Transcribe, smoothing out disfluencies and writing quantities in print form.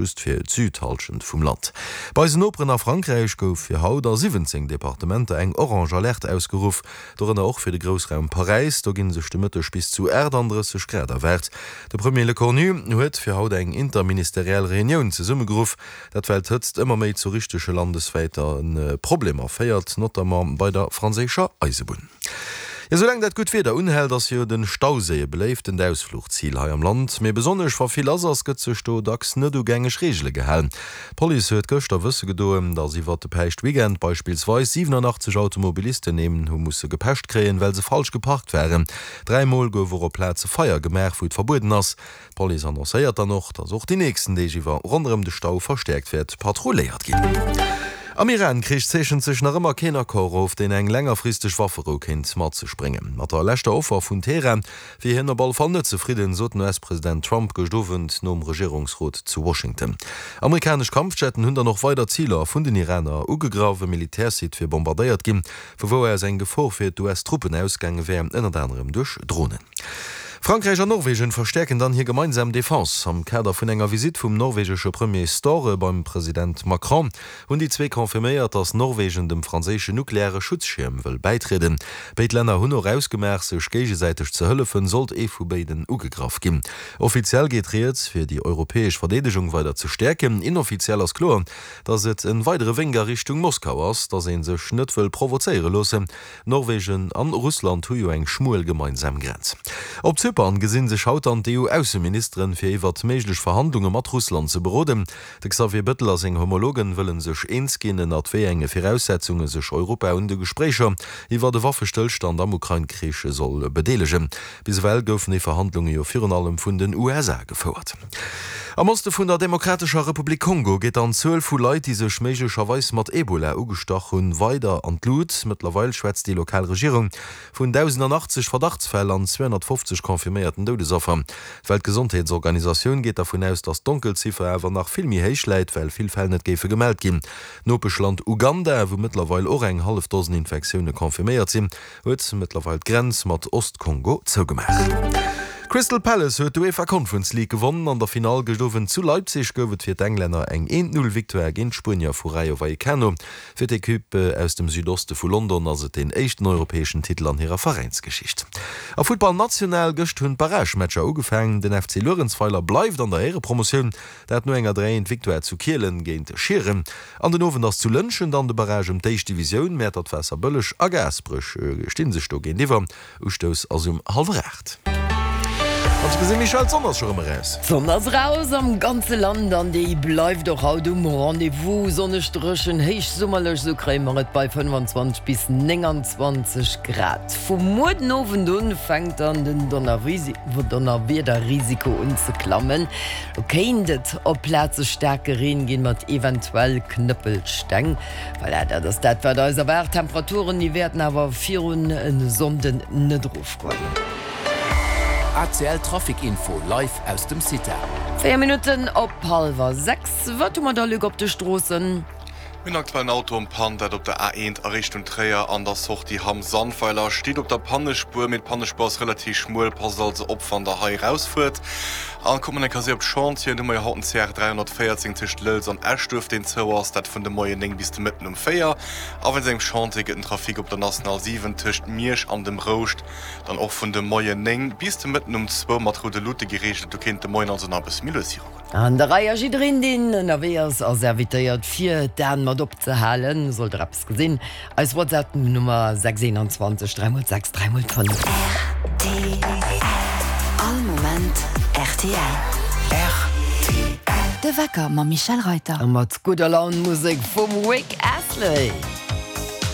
Just fir d'Südhallschent vum Land. Bei eisen Noperen a Frankräich gouf fir haut a 17 Departementer eng orange Alerte ausgeruff, dorënner och fir de Groussraum Paräis. Do gi sech de Mëtteg bis zu 38 Grad erwaart. De Premier Lecornu huet fir haut eng interministeriell Reunioun zesummegeruff, dat well d'Hëtzt ëmmer méi zu richtege landeswäite Problemer féiert, notamment bei der franséischer Eisebunn. Jo, soulaang dat gutt Wieder unhält, ass jo de Stauséi e beléiftent Ausfluchzil hei am Land. Mee besonnesch wa vill lass ass, gëtt sech do dacks net u gängeg Reegele gehalen. D'Police huet gëschter wësse gedoen, datt iwwert de Päischtweekend beispillsweis 87 Automobilisten een hu musse gepecht kréien, well se falsch geparkt waren. 3 Mol gouf och op Plaze Feier gemaach, wou et verbueden ass. D'Police annoncéiert dann och, datt och déi nächsten Deeg iwwer ronderëm de Stau verstäerkt wäert patrulléiert ginn. Am Iran-Krich zeechent sech nach ëmmer keen Accord of, deen eng längerfristeg Wafferou kéint mat sech bréngen. Mat der leschter Offer vun Teheran wier hien op alle Fall net zefridden, sot den US-President Trump gëscht Owend nom Regierungsrot zu Washington. Amerikanesch Kampfjetten hunn dann och weider Ziler vun den Iraner ugegraff. E Militärsite wier bombardéiert ginn, vu wou aus eng Gefor fir d'US-Truppen ausgaange wär, ënnert anerem duerch Dronen. Frankräich an Norwegen verstäerken dann hir gemeinsam Defense. Am Kader vun enger Visitt vum norwegesche Premier Støre beim President Macron hunn déi zwee confirméiert, datt Norwegen dem franséischen nukleare Schutzschierm wëll bäitrieden. Béid Länner hunn och ausgemaach, sech géigesäiteg ze hëllefen, sollt ee vu béiden ugegraff ginn. Offiziell geet rieds, fir déi europäesch Verdeedegung weider ze stäerken. Inoffiziell ass kloer, datt et en weidere Wénk a Richtung Moskau ass, datt ee sech net wëll provozéiere loossen. Norwegen an Russland hu jo eng schmuel gemeinsam Grenz. Op Zypern gesinn sech haut dann d'EU-Ausseministeren, fir iwwert méiglech Verhandlunge mat Russland ze beroden. De Xavier Bettel a seng Homologen wëllen sech eens ginn, ënnert wéi enge Viraussetzunge sech Europa un de Gespréicher iwwert e Waffestëllstand am Ukrain-Krich soll bedeelegen. Bis ewell goufen déi Verhandlunge jo virun allem vun den USA gefouert. Am Oste vun der Demokratescher Republik Kongo geet dann d'Zuel vu Leit, déi sech méiglecherweis mat Ebola ugestach hunn, weider an d'Lut. Mëttlerweil schwätzt déi lokal Regierung vun 1.080 Verdachtsfäll an 250 confirméierten Doudesaffer. D'Weltgesondheetsorganisatioun geet dervun aus, datt d'Donkelziffer awer nach vill méi héich läit, well vill Fäll net géife gemellt ginn. D'Nopeschland Uganda, wou mëttlerweil och eng hallef Dosen Infektioune confirméiert sinn, huet mëttlerweil d'Grenz mat Ost-Kongo zougemaach. Crystal Palace huet d'UEFA Conference League gewonnen. An der Finall gëscht Owend zu Leipzig gouf et fir d'Englänner eng 1-0 Victoire géint d'Spuenier vu Rayo Vallecano. Fir d'Equipe aus dem Südoste vu London ass et deen éischten europäeschen Titel an hirer Veräinsgeschicht. A Futtball national, Gëscht hunn d'Barragematcher ugefaangen. Den FC Luerenzweiler bleift an der Éierepromotioun, dat no enger 3 1 Victoire zu Kielen géint Schieren. An den Owend ass zu Lëntgen dann de Barrage ëm d'éischt Divisioun. Mäertert, Waasserbëlleg a Gaasperech sti sech do géintiwwer. Ustouss ass um hallwer 8. An ech gesinn, Michèle, d'Sonn ass scho rëm eraus. D'Sonn ass eraus am ganze Land an déi bleift och haut um Rendez-vous. Sonneg, dréchen, héichsummerlech, esou kréie mer et bei 25 bis 29 Grad. Vu muer den Owend un fänkt dann den Donnerwiederrisiko un ze klammen. Do kéint et op Plaze staarke Reen ginn, mat eventuell Knëppelsteng. Voilà, dat ass dat, wat eis erwaart. D'Temperaturen, déi wäerten awer virun e Sonnden net erofgoen. ACL Trafic Info live aus dem CITA. 4 Minutten op hallwer 6. Wat hu mer da, Luc, op de Stroossen? Mir hunn aktuell en Auto en Panne, dat op der A1 a Richtung Tréier an der Sortie Hamm-Sandweiler. Steet op der Pannespuer, mee d'Pannespuer ass relativ schmuel, passt also op wann der hei erausfuert. An kuckt mer eng Kéier op d'Chantieren, do hu mer jo haut den CR 314 tëscht Lëlz an Eschduerf, deen zou ass, dat vun de Moien 9 bis de Mëtten um 4. A wéinst engem Chantier gëtt den Trafic op der National 7 tëscht Miersch an dem Rouscht dann och vun de Moien 9 bis de Mëtten um zwou mat roude Luute gereegelt. Do kéint de Moien also nach e bësse méi lues virugoen. An der Rei a jiddereen deen ënnerwee ass, ass invitéiert fir d'Aen mat opzehalen. Sollt der eppes gesinn, eis WhatsApp Nummer 6 21 3 x 6 3 x 5. Rtl, All Moment rtl. Rtl. De Wecker mam Michèle Reyter. A mat gudder Laun Musek vum Rick Astley.